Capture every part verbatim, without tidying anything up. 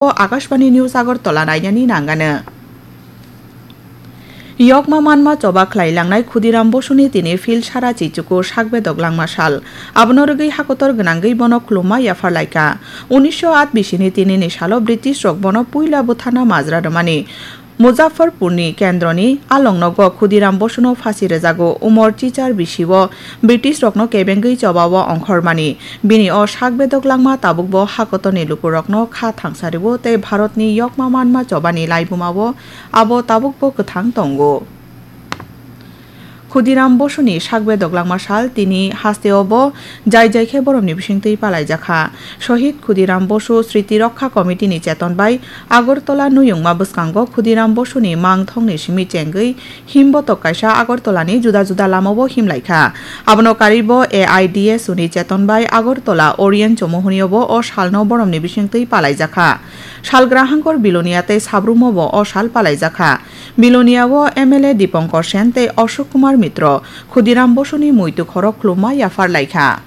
O Akashbani News Agartala nainani nangano. Yokma manma choba khlai langnai Khudiram Bosuni tini phil sara chichuku sakbedok langma sal. Abono rwgwi hakotor gwnangwi bono khulumma yaphar laikha. Unisho at bisini tinini salo British rok bono puila bwthana majra rwmani Muzaffarpurni kendroni alongnogo Khudiram Bosuno phasi rwjago. Umor chichar bisiwo British rokno kebengwi chobao ongkhormani. Bini o sakbedok langma tabukbo hakotorni lukurokno kha thangsariwo tei Bharatni yokma manma chobani laibumao abo tabukbo kwthang tongo. Khudiram Bosuni sakbedok langma sal tini hasteo bo jai jai khe boromni bisingtwi palaijakha. Shohid Khudiram Bosu Sriti Rokha Committee ni cheton bai Agartala nuyungma bwskango Khudiram Bosuni mangthongni simi chengwi himbotok kaisa Agartala ni juda juda lamao himlaikha. Abono karwibo A I D S U ni cheton bai Agartala Orient Chomohonio bo o salno boromni bisingtwi palaijakha. Salgrahangkor Bilonia tei Sabrumo bo o sal palaijakha. Biloniao M L A Dipankar Sen tei Ashok Kumar Mitro Khudiram Bosuni muitu khoro khulumma yaphar laikha.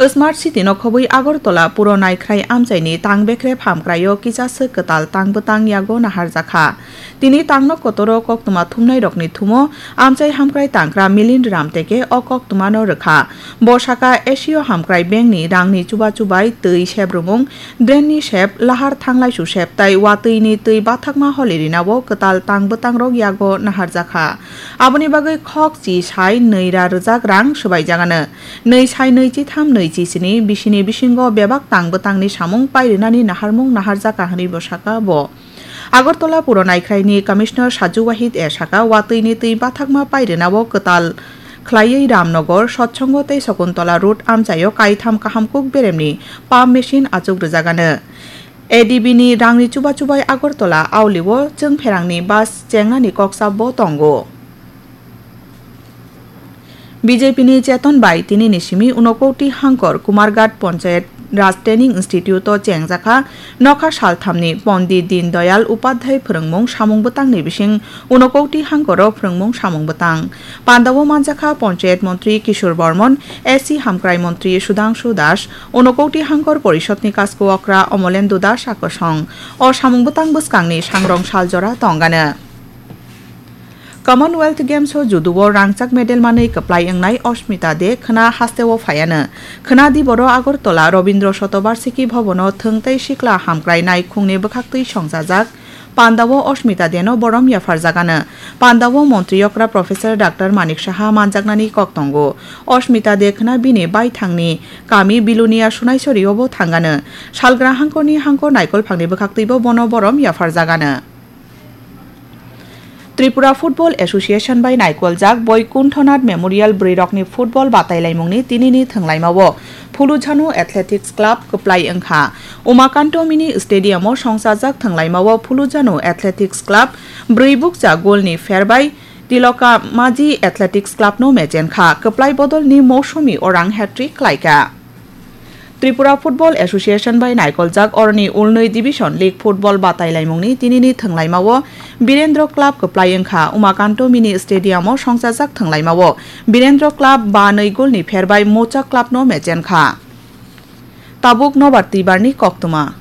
Smart City no khobwi Agartala puro naikhrai amchaini tang bekrep hamkraio kisa swk kwtal tang bwtang yago naharjakha. Tini tangno kotoro koktwma thumnairokni thumo amchai hamkrai tangkra Milind Ramteke o koktwmano rwkha. Bo saka Asia Hamkrai Bank ni rangni chuba chubai twi sebrumung, drain ni sep, lahar thanglaisu sep tai watwi ni twi bathakma holi rinao kwtal tang bwtangrok yago naharjakha. Aboni bagwi khok chi sai nwi ra rwjak rang swbaijagano. Nwi sai nwi chi tham nwi chi sini bisini bisingo bebak tang bwtangni samung pairwnani naharmung naharjakha hwnwi bo saka bo. Agartala puro naikhraini Commissioner Saju Wahid e saka, watwini twi bathakma pairwnao kwtal khlaiwi Ramnagar, Sotsongo tei Sakuntala road amchaio kaitham kaham kuk beremni pump machine achuk rwjagano. A D B ni rangni chuba chubai Agartala aulio chwngpherangni bus chengnani koksa bo tongo. B J P ni cheton bai tinini simi Unakoti Hangkor Kumarghat Panchayat Raj Training Institute o chengjakha nokha salthamni Pondit Din Dayal Upadhyay phwrwngmung samung bwtangni bising Unakoti Hangkor o phwrwngmung samung bwtang. Pandao manjakha Panchayat Montri Kishore Bormon, S C Hamkrai Montri Sudhangshu Das, Unakoti Hangkor Porishotni Kasko Okra Omolendu Das a kwsong. O samung bwtang bwskangni sangrong saljora tongano. Commonwealth Games o judo o rangchak medal manwi kwplai wngnai Ashmita De khwna hasteo phaiano. Khwna diboro Agartala Rabindra Shatobarshiki Bhavan o thwng tei sikla hamkrai naikhungni bwkhaktwi songchajak pandao Ashmita De no borom yapharjagano. Pandao montri okra Professor Doctor Manik Saha manjaknani kok tongo. Ashmita De khwna bini baithangni kami Bilonia Sunaisori o bo thangano. Salgra hangkorni hangkor naikolphangni bwkhaktwibo bono borom yapharjagano. Tripura Football Association bai naikoljak Boikunthonath Memorial bwrwirokni football batailaimungni tinini thwnglaimao Phulujhano Athletics Club kwplai wngkha. Umakanto Mini Stadium o songchajak thwnglaimao Phulujhano Athletics Club bwrwi bukcha golni pherbai Tiloka Maji Athletics Club no mechenkha. Kwplai bodolni Mousumi Orang hat-trick khlaikha. Tripura Football Association bai naikoljak oroni ulnwi Division League Football batailaimungni tinini thwnglaimao Birendra Club kwplai wngkha. Umakanto Mini Stadium o songchajak thwnglaimao Birendra Club ba nwi golni pherbai Mocha Club no mechenkha. Tabuk nobar twibarni koktwma.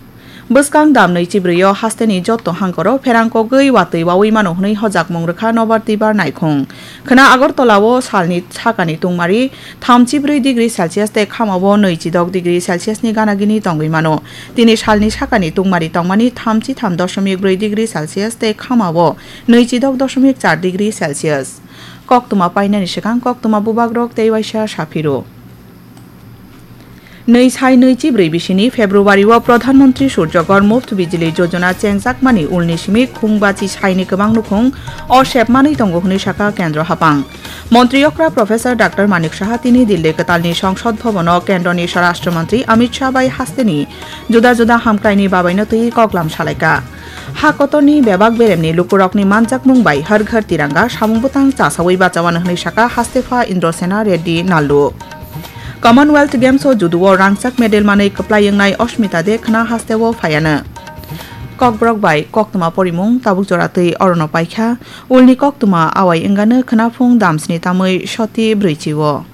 Bwskang dam nwi chibrwi o hasteni jotto hangkoro pherang kogwi watwi wawi mano hwnwi hojakmung rwkha nobar twibar naikhung. Khwna Agartala o salni sakani tungmari thamchi brwi degree Celsius tei khamao nwichi dok degree Celsius ni gana gini tongwi mano. Tini salni sakani tungmari tongmani thamchi tham doshomik brwi degree Celsius tei khamao nwichi dok doshomik char degree Celsius. Koktwma painani swkang koktwma bubagrok tei waisa saphiro. Nwi sai nwi chibrwi bisini February o Pradhan Mantri Surjagor Muft Bijli Jojona chengjakmani ulni simi khungbachi saini kwbang nukhung o sepmanwi tongo hwnwi sakha Kendro Hapang. Montri okra Professor Doctor Manik Saha tini Dilli kwtalni Songsod Bhavan o Kendroni Swarashtra Mantri Amit Shah bai hasteni juda juda hamkraini babaino twi koklam salaikha. Ha kotorni bebak beremni lukurokni manjakmung bai Har Ghar Tiranga samung bwtang chasawi bachawano hwnwi sakha Hastepha Indrasena Reddy Nallu. Commonwealth Games o judo o rangchak medal manwi kwplai wngnai Ashmita De khwna hasteo phaiano. Kokborok bai koktwma porimung tabuk jora twi orono paikha. Ulni koktwma awai wngano khwnaphung damsni tamwi soti brwichi o.